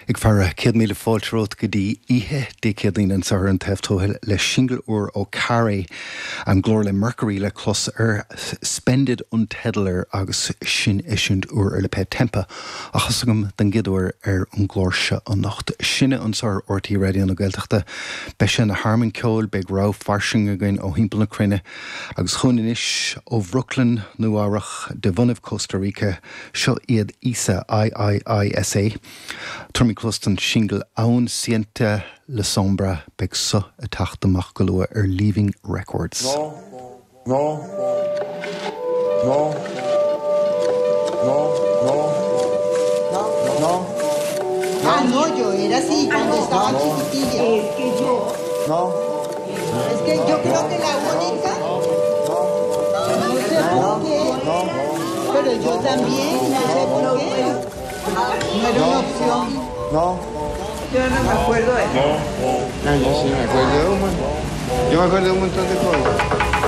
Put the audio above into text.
Ag faire, 100,000 fáilte romhat go dtí oíche Dé Céadaoin anseo ar An Taobh Tuathail le singil úr ó Carré, an glór le Mercury le clos air, Spendid an teideal air agus sin eisiúint úr ar lipéad Tempa á chos agam den gcéad uair ar an gclár seo anocht. Sinne anseo ar RTÉ Raidió na Gaeltachta. Beidh sé ina thearmann ceoil, beidh rogha fairsing againn ó thimpeall na cruinne agus chugainn anois ó Bhrooklyn, Nua Eabhrach, de bhunaibh Costa Rica, Seo iad Iisa, I-I-I-S-A. Tabharfaimid cluas don singil Aún Siento La Sombra, beidh so ag teacht amach go luath ar Leaving Records. No. No. No. No. No. No. Ah, no, yo era así cuando estaba chiquitilla. No. Es que yo. No. Es que yo creo que la única. No sé por qué. Pero yo también, no sé por qué. No era una opción. No. Yo no me acuerdo de eso. No, yo sí me acuerdo de un montón. Yo me acuerdo de un montón de cosas.